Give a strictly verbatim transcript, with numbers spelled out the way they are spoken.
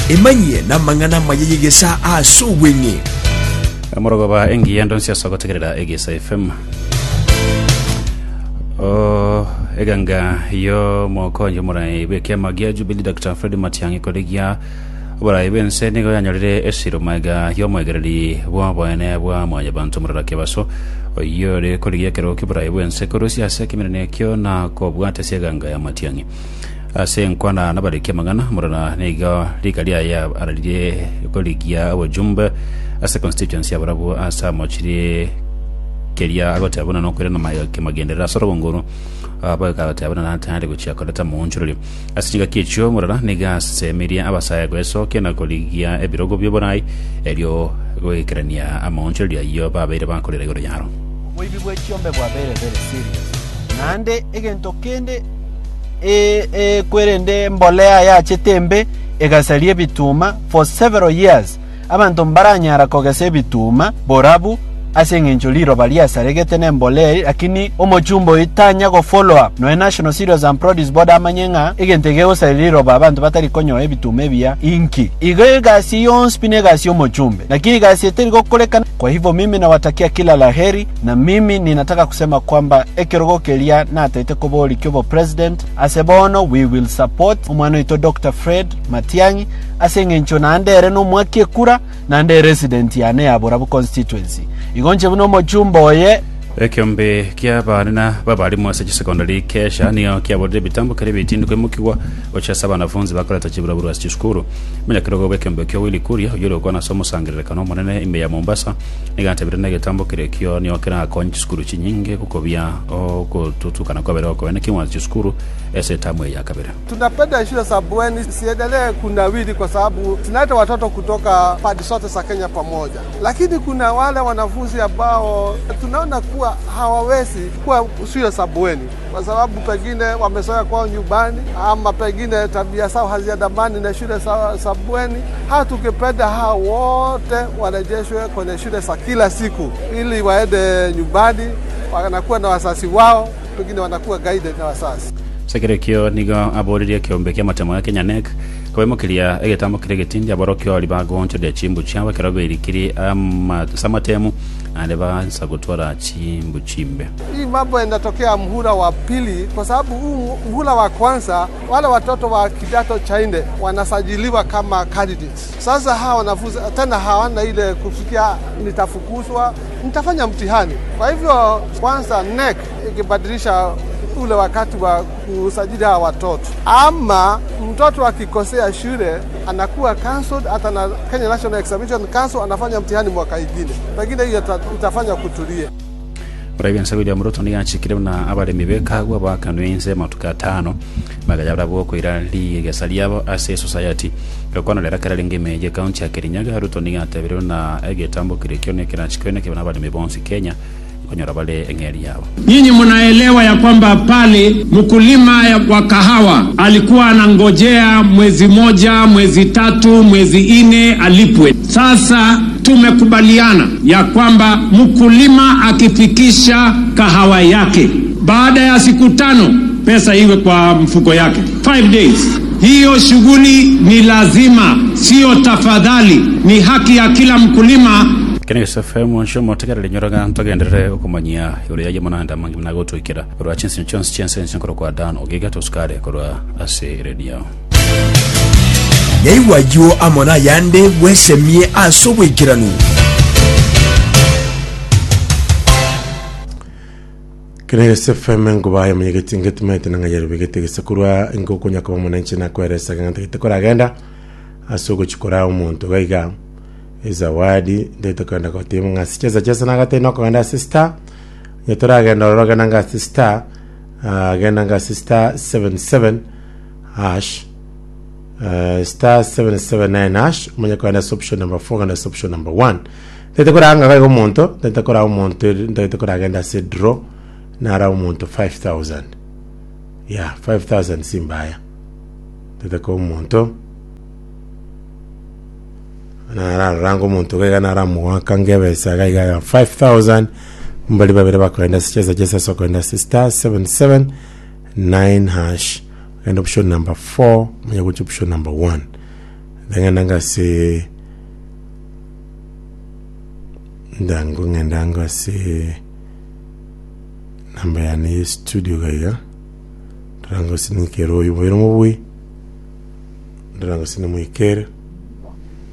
Emanyie namang'ana amaya y'egesaa ase obweng'e. Omorogoba engiya ndonsi ase ogotegerera Egesa F M. O, eganga y'omokonyi omorai bw'ekiama gia Jubilee Doctor Fred Matiang'i korigia oborai bw'ense nigo yanyorire esiro maega y'omoegereri bw'oboene bwa mwanyabanto Morara Kebaso, oyio ore korigia ekerogo ki'oborai bw'ense korusia ase ekemerero ekio na kobwata ase eganga ya Matiang'i. Ase enkwana nabariki amang'ana, Morara nigo rika riaye araririe korigia obojumbe ase constituency ya barabwo ase amochirie keria agoteba buna nokoirana maega kemagenderera ase orogongoro bagoteba buna natayari gochia koreta moonchorerio ase chingaki echio. Morara nigo asemirie abasae goesokia na korigia ebirogo bia erio goikerania amaonchorerio ayio babeire bakorera igoro yaro. Oboibi bwa echiombe bwabeire very serious, naende egento kende e, e, kwerende mbolea yachete embe egasaria ebituma. For several years abanto mbaranyara kogesa ebituma borabu ase eng'encho riroba riasaregete na embolea, lakini omochumba oyo tanya go follow up noe National Cereals and Produce Board amanye ng'a egento egegosaria riroba abanto batari konyoa ebituma ebiya inki. Igo egasi yonsi pi negasi omochumbe, lakini egasi eteri gokorekana. Kwa hivyo mimi nawatakia kila la heri, na mimi ninataka kusema kwamba ekerogo keria natete kobori kyobo president ase bono, we will support omwana oito Doctor Fred Matiang'i ase eng'encho naende ere nomwaki ekura, naende resident yane ya Borabu constituency. Igo nche buna omochumba oye. Ekiombe kia abanene babarimu ase chisekondari kesha nigo kiaborire ebitambo kere ebitindi koimokigwa gochia ase abanafunzi bakoreta chiburaburu ase chisukuru. Omonyakerogo bw'ekiombe kio Willy Kuria, oyio ore gokwana ase omosangererekano omonene ime ya Mombasa, nigo atebire na egetambo kere ekio nigo kerakonya chisukuru chinyinge gokobia ogotutukana kwabere gokoena king'wanso chisukuru ase etamu eye ya kabere. Tunapenda shule za bweni ziendelee kunawiri kwa sababu zinaleta watoto kutoka pande zote za Kenya pamoja, lakini kuna wale wanafunzi ambao tunaona kuwa hawawezi kuwa shule za bweni kwa sababu pengine wamezoea kwao nyumbani ama pengine tabia zao haziandamani na shule za, za bweni. Hata tukipenda hao wote warejeshwe kwenye shule za kila siku ili waende nyumbani, wanakuwa na wazazi wao, pengine wanakuwa guided na wazazi. Sekerekio nigo aboririe ekiombe kia matemo ya Kenya K N E C koimokeria egetambo kere getindi aborokio ori bagonchoria chimbu chiabo ekero berikiri ama ase amatemu naende bansa gotwara chimbu chimbe. Hii mambo yanatokea mhula wa pili, kwa sababu huu mhula wa kwanza wale watoto wa kidato cha nne wanasajiliwa kama candidates. Sasa hawa wanafunzi tena hawana ile kufikia nitafukuzwa, nitafanya mtihani. Kwa hivyo kwanza K N E C ikibadilisha ule wakati wa kusajili hawa watoto, ama mtoto akikosea shule anakuwa cancelled, hata na Kenya National Examination Council anafanya mtihani mwaka ingine, pengine hiyo ita- itafanya kutulie. Oraibia William Ruto nigo achikire buna abaremi bekagwa bakanwe inse matuka atano magaya bokoira rigesa riabo ase society gakwana kera ringi meje county ya Kirinyaga. Ruto nigo atebire buna egetambo kire kio nekirachikwe kibona abaremi bonsi Kenya konyora bale eng'eri yabo. Nyinyi mnaelewa ya kwamba pale mkulima wa kahawa alikuwa anangojea mwezi moja, mwezi tatu, mwezi nne alipwe. Sasa tumekubaliana ya kwamba mkulima akifikisha kahawa yake baada ya siku tano, pesa iwe kwa mfuko yake. Five days. Hiyo shughuli ni lazima, sio tafadhali, ni haki ya kila mkulima. Kene F M nshomo tegerere nyoraga ntogenderere okomanyia igoro yaye monanda mangi mnagotwikira korwa chinsi chonsi chense nkorwa kwa Dan Ogiga tosukare korwa ase radio. Yaigwa amo nayande bwesemie ase obwekeranu. Kene F M ngubaye munyegeti ngetumete nang'ayero bigete gesekurwa ngokunya kuba mwananchi nakweresa ng'ate koragenda ase ogochikora omonto gaiga ezawadi ndete kwenda gotema ng'a sicheza cheza nagate nokogenda ase star nyetoragenda ororo genda nga ase star, ah, genda nga ase star seven seven hash, uh, star seven seven nine hash, omanye kogenda ase option number four, genda ase option number one. Ndete koranga gaiga omonto, ndete kora omonto, ndete koragenda ase draw nara omonto five thousand, yeah, five thousand simbaya. Ndete ko omonto nararanga omonto gaiga naramuwaka ngebesa gaiga ya five thousand mbali babere bakoenda sicheza cheza. So koenda ase star seven seven nine hash, genda option number four, manya gucha option number one. Ndang'enda ngase ndango ng'enda ngase namba yane ya studio gaiga ndarango sinikere oyo boire mobui ndarango sinamuikere.